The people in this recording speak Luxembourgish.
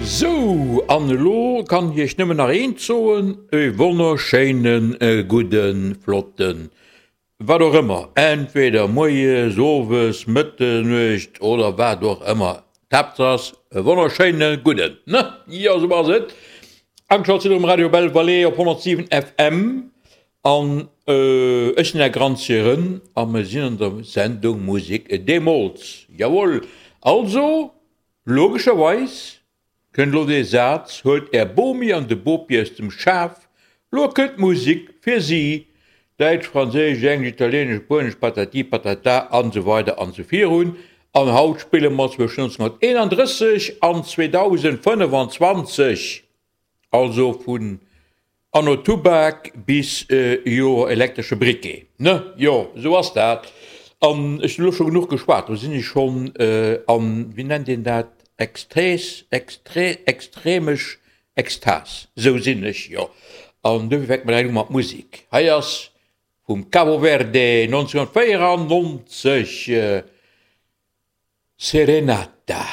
Sou, an elo kann ech iech nëmmen nach eent soen, e wonnerschéinen, gudden, flotten, wat och ëmmer, entweder moies, owes, Mëtternuecht oder wat och ëmmer, d'Haaptsaach ass e wonnerschéine gudden, ne? Jo, sou ass et. Ageschalt sidd der um Radio Belle Vallée op 107 FM an ech sinn Är Granzieren a mir sinn an der Sendung Musek deemools. Jawohl, also logescherweis Kënnt lo dee Saz, Huelt är Bomi an de Bopi aus dem Schaf, lo kënnt d'Musik fir si, Däitsch, Franséisch, Englesch, Italienesch, Spuenesch, patati patata an esou weider an esou virun. An haut spille mer zwëschen 1931 an 2025, also vun Anno Tubak bis Joer elektresche Briquet, ne? Jo, esou ass dat. An ech hunn elo scho genuch geschwat, do sinn ech schonn an, wéi nennt een dat, Exträs, exträ, extremesch Ekstas, esou sinn ech, jo. An dofir fänke mer direkt u mat Musek. Hei ass vum Cabo Verde 1994, Serenata.